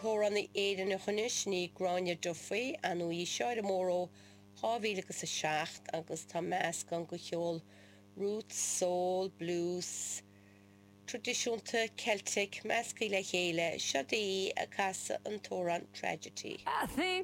t-amhránaí Éireannach anois, sin í Gráinne Duffy, ar ndóigh í seo ar an mór ó 2007 agus tá meascán de cheol roots, soul, blues, traidisiúnta, Celtic measctha le chéile. Seo í ag casadh an t-amhrán Tragedy.